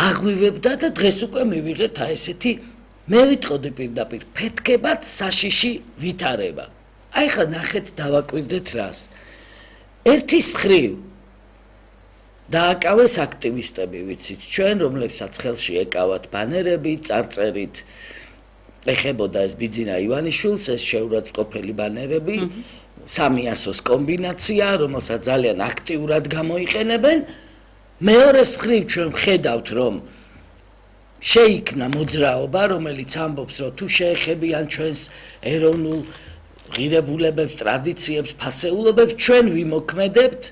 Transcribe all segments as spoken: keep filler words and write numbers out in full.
აღვივებდა და დღეს უკვე მივიღეთ აი ესეთი მე ვიტყოდი პირდაპირ ფეთქებად საშიში ვითარება. აი ხა ნახეთ დავაკვირდეთ რას. ერთის მხრივ დააკავეს აქტივისტები, ვიცით, ჩვენ რომლებსაც ხელში ეკავათ ბანერები, წარწერით ეხებოდა ეს ბიძინა ივანიშვილს, ეს შეურაცხყოფელი ბანერები, სამიასოს კომბინაცია, რომელსაც ძალიან აქტიურად გამოიყენებენ. მეორეს მხრივ ჩვენ ვხედავთ, რომ შეიქმნა მოძრაობა, რომელიც ამბობს, რომ თუ შეეხებიან ჩვენს ეროვნულ ღირებულებებს, ტრადიციებს, ფასეულობებს, ჩვენ ვიმოქმედებთ,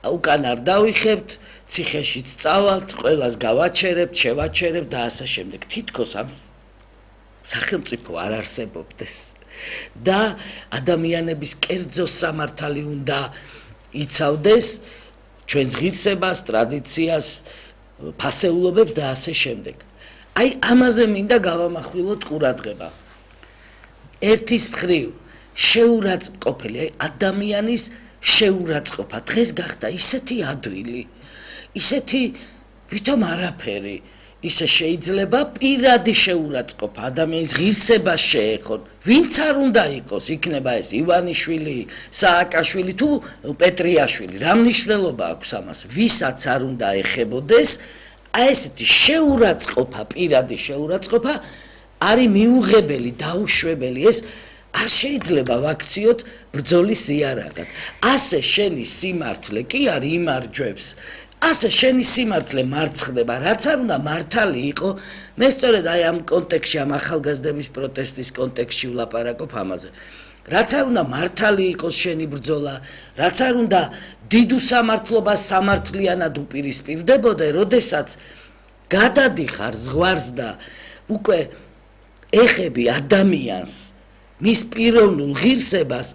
უკან არ დავიხებთ, ციხეშიც წავალთ, ყველას გავაჩერებთ, შევაჩერებთ და ასე შემდეგ. თითქოს ამ სახელმწიფო არ არსებობდეს და ადამიანების კერძო სამართალი უნდა იცავდეს ჩვენს ღირსებას, ტრადიციას, ფასეულობებს და ასე შემდეგ. აი ამაზე მინდა გავამახვილოთ ყურადღება. ერთის მხრივ შეურაცხყოფელი, აი ადამიანის შეურაცხყოფა დღეს გახდა ისეთი ადვილი, ისეთი ვითომ არაფერი, ისე შეიძლება პირადი შეურაცხყოფა ადამიანის ღირსებას შეეხონ, ვინც არ უნდა იყოს, იქნება ეს ივანიშვილი, სააკაშვილი თუ პეტრიაშვილი, რა მნიშვნელობა აქვს ამას, ვისაც არ უნდა ეხებოდეს, აი ესეთი შეურაცხყოფა, პირადი შეურაცხყოფა არის მიუღებელი, დაუშვებელი, ეს არ შეიძლება ვაქციოთ ბრძოლის იარაღად. ასე შენი სიმართლე კი არ იმარჯვებს. ასე შენი სიმართლე მარცხდება, რაც არ უნდა მართალი იყო. მე სწორედ აი ამ კონტექსში, ამ ახალგაზრდების პროტესტის კონტექსში ვლაპარაკობ ამაზე. რაც არ უნდა მართალი იყოს შენი ბრძოლა, რაც არ უნდა დიდ უსამართლობას სამართლიანად უპირისპირდებოდე, როდესაც გადადიხარ ზღვარს და უკვე ეხები ადამიანს, მის პიროვნულ ღირსებას,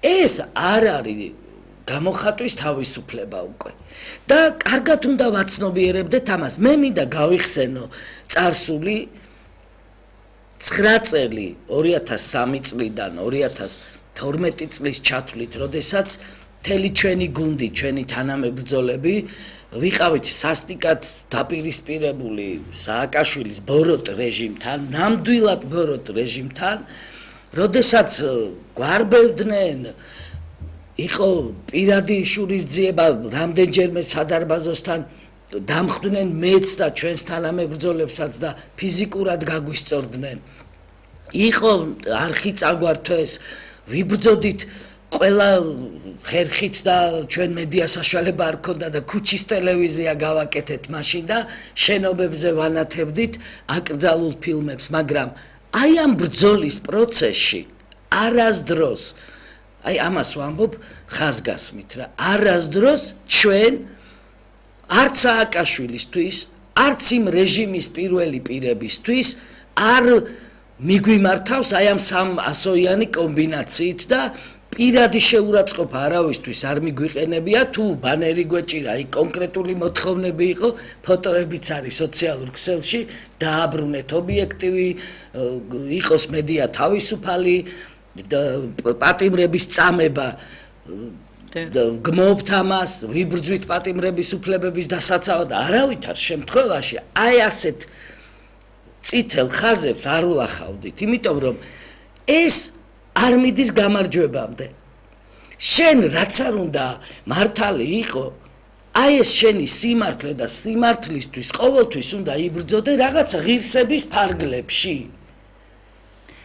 ეს არ არის გამოხატვის თავისუფლება უკვე. და კარგად უნდა ვაცნობიერებდეთ ამას. მე მინდა გავიხსენო წარსული ცხრა წელი ორი ათას სამი წლიდან ორი ათას თორმეტი წლის ჩათვლით, როდესაც მთელი ჩვენი გუნდი, ჩვენი თანამებრძოლები ვიყავით სასტიკად დაპირისპირებული სააკაშვილის ბოროტ რეჟიმთან, ნამდვილად ბოროტ რეჟიმთან, როდესაც გვარბევდნენ, იყო პირადი შურისძიება რამდენჯერმე სადარბაზოსთან, დამხდნენ მეც და ჩვენს თანამებრძოლებსაც და ფიზიკურად გაგვისწორდნენ. იყო არხი წაგვართვეს, ვიბრძოდით ყველა ხერხით და ჩვენ მედია საშუალება არ ქონდა და ქუჩის ტელევიზია გავაკეთეთ მაშინ და შენობებზე ვანათებდით აკრძალულ ფილმებს, მაგრამ აი ამ ბრძოლის პროცესში არასდროს, აი ამას ვამბობ ხაზგასმით რა, არასდროს ჩვენ არც სააკაშვილისთვის, არც იმ რეჟიმის პირველი პირებისთვის არ მიგვიმართავს აი ამ სამასოიანი კომბინაციით და პირადი შეურაცხყოფა არავისთვის არ მიგვიყენებია, თუ ბანერი გვეჭირა, აი კონკრეტული მოთხოვნები იყო, ფოტოებიც არის სოციალურ ქსელში, დააბრუნეთ ობიექტივი, იყოს მედია თავისუფალი, პატიმრების წამება, გმობთ ამას, ვიბრძვით პატიმრების უფლებების დასაცავად, არავითარ შემთხვევაში აი ასეთ წითელ ხაზებს არ ვლახავდით, იმიტომ რომ ეს არ მიდის გამარჯვებამდე. შენ რაც არ უნდა მართალი იყო, აი ეს შენი სიმართლე და სიმართლისთვის ყოველთვის უნდა იბრძოდე რაღაცა ღირსების ფარგლებში.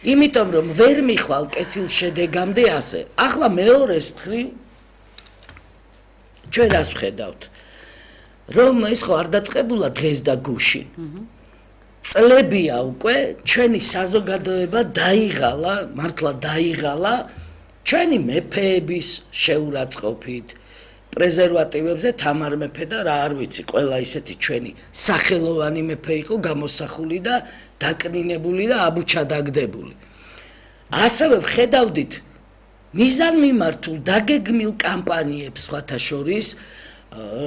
იმიტომ რომ ვერ მიხვალ კეთილ შედეგამდე ასე. ახლა მეორეს მხრივ ჩვენ რას ვხედავთ? რომ ეს ხო არ დაწყებულა დღეს და გუშინ. წლებია უკვე ჩვენი საზოგადოება დაიღალა, მართლა დაიღალა ჩვენი მეფეების შეურაცხყოფით, პრეზერვატივებზე თამარ მეფე და რა არ ვიცი, ყველა ისეთი ჩვენი სახელოვანი მეფე იყო გამოსახული და დაკნინებული და აბუჩადაგდებული. ასევე ვხედავდით მიზანმიმართულ დაგეგმილ კამპანიებს სხვათა შორის,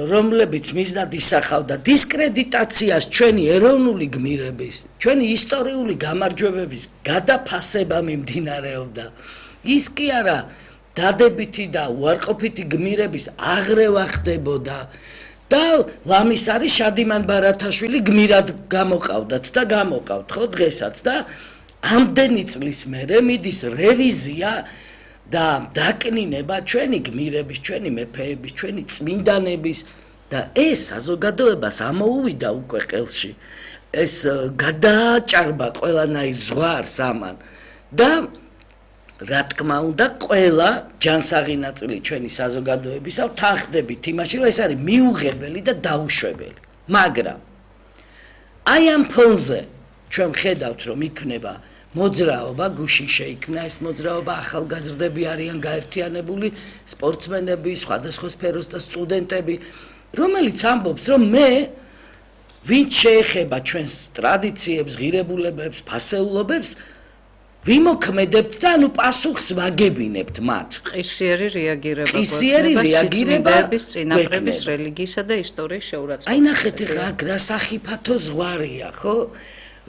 რომლებიც მიზნად ისახავდა დისკრედიტაციას ჩვენი ეროვნული გმირების, ჩვენი ისტორიული გამარჯვებების გადაფასება მიმდინარეობდა. ის კი არა დადებითი და უარყოფითი გმირების აღრევა ხდებოდა და ლამის არის შადიმან ბარათაშვილი გმირად გამოყავდათ და გამოყავთ ხო დღესაც და ამდენი წლის მერე მიდის რევიზია და დაკნინება ჩვენი გმირების, ჩვენი მეფეების, ჩვენი წმინდანების და ეს საზოგადოებას ამოუვიდა უკვე ყელში. ეს გადააჭარბა ყველანაირ ზღვარს ამან და რა თქმა უნდა ყველა ჯანსაღი ნაწილი ჩვენი საზოგადოებისა ვთანხმდებით იმაში რომ ეს არის მიუღებელი და დაუშვებელი მაგრამ აი ამ ფონზე ჩვენ ხედავთ რომ იქნება მოძრაობა გუშინ შეიქმნა ეს მოძრაობა ახალგაზრდები არიან გაერთიანებული სპორტსმენები სხვადასხვა სფეროს და სტუდენტები რომელიც ამბობს რომ მე ვინც შეეხება ჩვენს ტრადიციებს ღირებულებებს ფასეულობებს ვიმოქმედებთ და ანუ პასუხს ვაგებინებთ მათ. ყისიერი რეაგირება ყისიერი რეაგირება წინაპრების რელიგიისა და ისტორიის შეურაცხყოფა. აი ნახეთ ხა რა სახიფათო ზღვარია, ხო?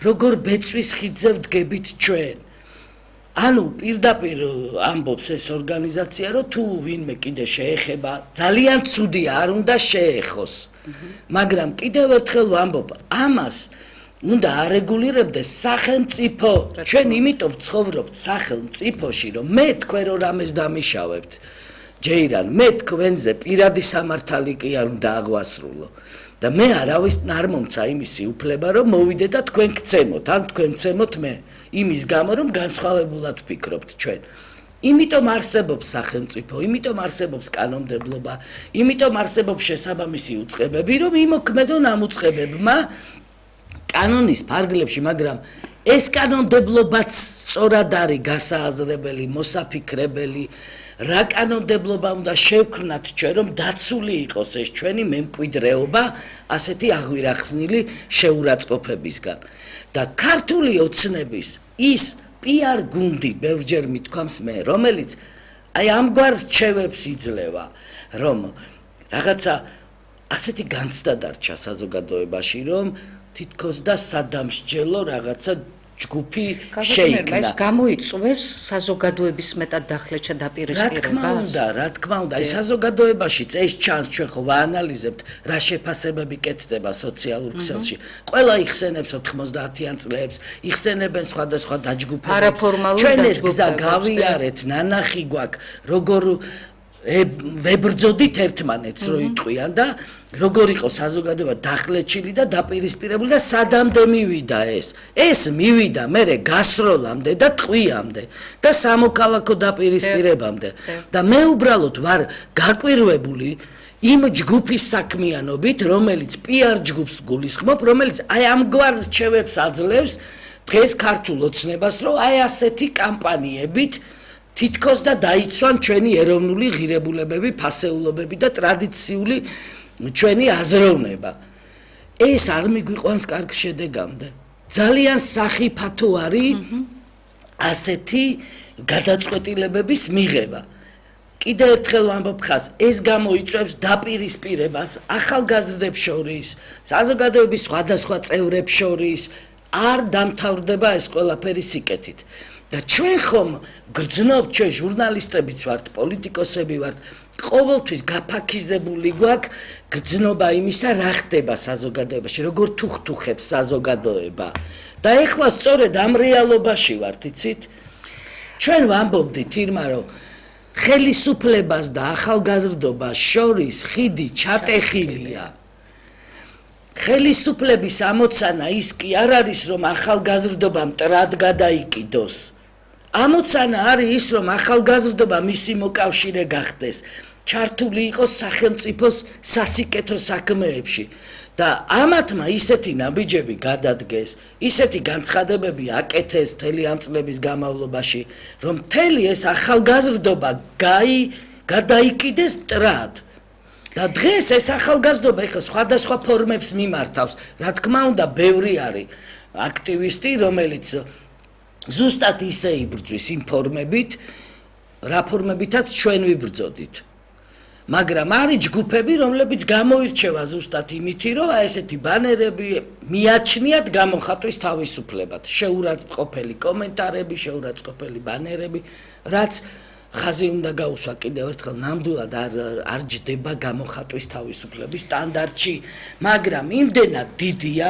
როგორ ბეწვის ხიძზე ვდგებით ჩვენ. ანუ პირდაპირ ამბობს ეს ორგანიზაცია, რომ თუ ვინმე კიდე შეეხება, ძალიან ცუდია, არ უნდა შეეხოს. მაგრამ კიდევ ერთხელ ვამბობ, ამას უნდა არეგულირებდეს სახელმწიფო. ჩვენ იმიტომ ვცხოვრობთ სახელმწიფოში, რომ მე თქვენ რო რამეს დამიშავებთ. ჯეირან, მე თქვენზე პირადი სამართალი კი არ უნდა აღვასრულო. და მე არავის არ მომცა იმისი უფლება, რომ მოვიდე და თქვენ გცემოთ, ან თქვენ გცემოთ მე. იმის გამო, რომ განსხვავებულად ვფიქრობთ ჩვენ. იმიტომ არსებობს სახელმწიფო, იმიტომ არსებობს კანონმდებლობა, იმიტომ არსებობს შესაბამისი უწყებები, რომ იმოქმედონ ამ უწყებებმა კანონის ფარგლებში, მაგრამ ეს კანონმდებლობაც სწორად არის გასააზრებელი, მოსაფიქრებელი, რა კანონმდებლობა უნდა შევქმნათ ჩვენ, რომ დაცული იყოს ეს ჩვენი მემკვიდრეობა ასეთი აღვირახსნილი შეურაცხყოფებისგან. და ქართული ოცნების ის პიარ გუნდი, ბევრჯერ მithქვამს მე, რომელიც აი ამგვარ რჩევებს იძლევა, რომ რაღაცა ასეთი განცდა დარჩა საზოგადოებაში, რომ თითქოს და სადამსჯელო რაღაცა ჯგუფი შეიქმნა. ეს გამოიწვევს საზოგადოების მეტად დახლეჩა დაპირისპირებას. რა თქმა უნდა, რა თქმა უნდა, აი საზოგადოებაშიც ეს ჩანს, ჩვენ ხო ვაანალიზებთ, რა შეფასებები კეთდება სოციალურ ქსელში. ყველა იხსენებს ოთხმოცდაათიან წლებს, იხსენებენ სხვადასხვა დაჯგუფებებს. ჩვენ ეს გზა გავიარეთ, ნანახი გვაქვს, როგორ ვებრძოდით ერთმანეთს რო იტყვიან და როგორ იყო საზოგადოება დახლეჩილი და დაპირისპირებული და სადამდე მივიდა ეს ეს მივიდა მერე გასროლამდე და ტყვიამდე და სამოქალაქო დაპირისპირებამდე და მე უბრალოდ ვარ გაკვირვებული იმ ჯგუფის საქმიანობით რომელიც პიარ ჯგუფს გულისხმობ რომელიც აი ამგვარ რჩევებს აძლევს დღეს ქართულ ოცნებას რომ აი ასეთი კამპანიებით თითქოს და დაიცვან ჩვენი ეროვნული ღირებულებები, ფასეულობები და ტრადიციული ჩვენი აზროვნება. ეს არ მიგვიყვანს კარგ შედეგამდე. ძალიან სახიფათო არის ასეთი გადაწყვეტილებების მიღება. კიდევ ერთხელ ვამბობ ხას, ეს გამოიწვევს დაპირისპირებას ახალგაზრდებს შორის, საზოგადოების სხვადასხვა წევრებს შორის, არ დამთავრდება ეს ყველაფერი სიკეთით. და ჩვენ ხომ გრძნობთ, ჩვენ ჟურნალისტებიც ვართ, პოლიტიკოსები ვართ, ყოველთვის გაფაქიზებული გვაქვს გრძნობა იმისა, რა ხდება საზოგადოებაში, როგორ თუხთუხებს საზოგადოება. და ეხლა სწორედ ამ რეალობაში ვართ, იცით? ჩვენ ვამბობდით ირმა, რომ ხელისუფლებას და ახალგაზრდობას შორის ხიდი ჩატეხილია. ხელისუფლების ამოცანა ის კი არ არის, რომ ახალგაზრდობა მტრად გადაიკიდოს. ამოცანა არის ის, რომ ახალგაზრდობა მისი მოკავშირე გახდეს, ჩართული იყოს სახელმწიფოს სასიკეთო საქმეებში და ამათმა ისეთი ნაბიჯები გადადგეს, ისეთი განცხადებები აკეთეს მთელი ამ წლების განმავლობაში, რომ მთელი ეს ახალგაზრდობა გაი გადაიკიდეს მტრად. და დღეს ეს ახალგაზრდობა ეხლა სხვადასხვა ფორმებს მიმართავს. რა თქმა უნდა, ბევრი არის აქტივისტი, რომელიც ზუსტად ისე იბრძვის იმ ფორმებით, რა ფორმებითაც ჩვენ ვიბრძოდით. მაგრამ არის ჯგუფები, რომლებიც გამოირჩევა ზუსტად იმითი, რომ ესეთი ბანერები მიაჩნიათ გამოხატვის თავისუფლებად. შეურაცხყოფელი კომენტარები, შეურაცხყოფელი ბანერები, რაც ხაზი უნდა გაუსვა კიდევ ერთხელ ნამდვილად არ არ ჯდება გამოხატვის თავისუფლების სტანდარტში, მაგრამ იმდენად დიდია